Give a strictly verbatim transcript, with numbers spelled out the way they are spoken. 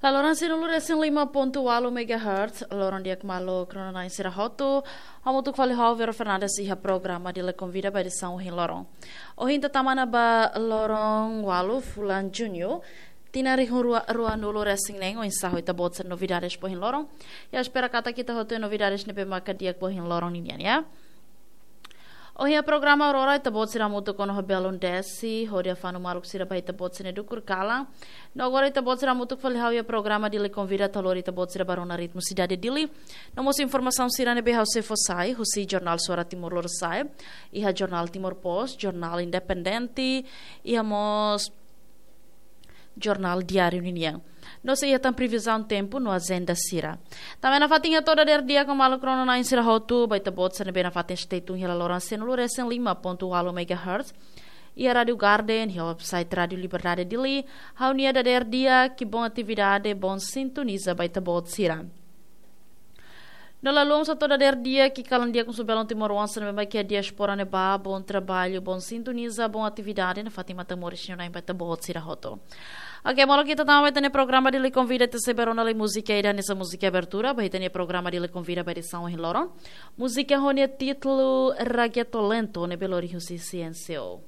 Laloran sienulu resin lima pontu ualu megahertz, loron di'ak maluk rona-na'in sira hotu, hamutuk fali ho Vero Fernandes iha programa Dili Konvida ba edisaun ohin loron. Ohin ita tama ona ba loron ualu fulan Juñu, tinan rihun rua, ruanulu resin neen, oinsá ho ita-boot sira novidades ba ohin loron. Ha'u espera katak ita hotu iha novidades ne'ebé maka di'ak ba ohin loron ninian, ya. Ohin iha programa Aurora, ita-boot sira hamutuk ona ho Belun Desi, hodi hafanu maluk sira ba ita-boot sira-nia dukur kalan. No agora ita-boot sira hamutuk fali ha'u iha programa Dili Konvida atu lori ita-boot sira ba rona ritmu sidade Dili. No mós informasaun sira ne'ebé ha'u sei fó sai, husi jornál Suara Timor Lorosa'e, iha jornál Timor Post, jornál Independente, iha mós jornál Diáriu ninian. No sei iha tan previzaun tempu no ajenda sira. Tanba ne'e nafatin hato'o dadeer di'ak ho maluk rona-na'in sira hotu, ba ita-boot sira ne'ebé nafatin stay tune iha laloran sienulu resin lima pontu ualu megahertz. Iha Rádiu Garden, iha website Rádiu Liberdade Dili, ha'u-nia dadeer di'ak, ki'ik, boa atividade, boa sintonizasaun ba ita-boot sira. No la haluha mós hato'o dadeer di'ak, ki'ik, kalan di'ak husu belun timoroan sira ne'ebé mak iha diáspora ne'ebá, bom trabalho, boa sintonizasaun, boa atividade, nafatin matan moris sira-na'in ba ita-boot sira hotu. Oke, maluk, ita tama ba ita-nia programa Dili Konvida, ita sei bá rona lai múzika ida hanesan múzika abertura ba ita-nia programa Dili Konvida ba edisaun ohin loron. Múzika ho nia títulu Reggaeton Lento, ne'ebé lori husi C N C O.